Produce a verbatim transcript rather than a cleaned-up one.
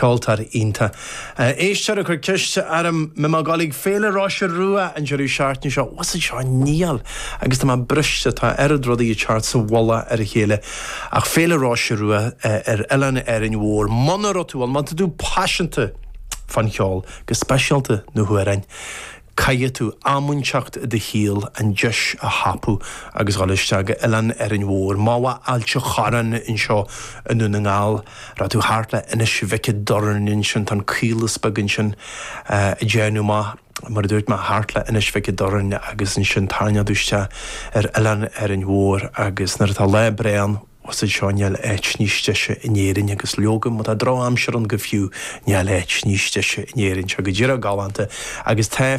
Ceoltóir iontach. Éisteoir ag cur ceiste orm an mbeidh mé ag dul ag Féile Roise Rua an deireadh seachtaine seo, was seo níl agus tá mé briste tá oiread rudaí ag teacht sa mhullach ar a chéile ach Féile Roise Rua ar Oileán Árainn Mhór muna raibh tú ann má tá tú paiseanta fán cheol go speisialta na hamhráin. Caithfidh tú am inteacht i do shaol an deis a thapú agus dul isteach go Oileán Árainn Mhór, má bha Ailt an Chorráin anseo i nDún na nGall, raibh tú thart le Inis Mhic an Doirn ansin tá an caolas beag ansin ag déanamh maith. mar a dúirt mé thart le Inis Mhic an Doirn agus ansin tarraingeodh isteach ar Oileán Árainn Mhór agus nuair atá lá breá ann was seo níl áit níos deise in Éirinn agus leoga má tá drochaimsir ann go fiú níl áit níos deise in Éirinn seo go díreach galánta agus tá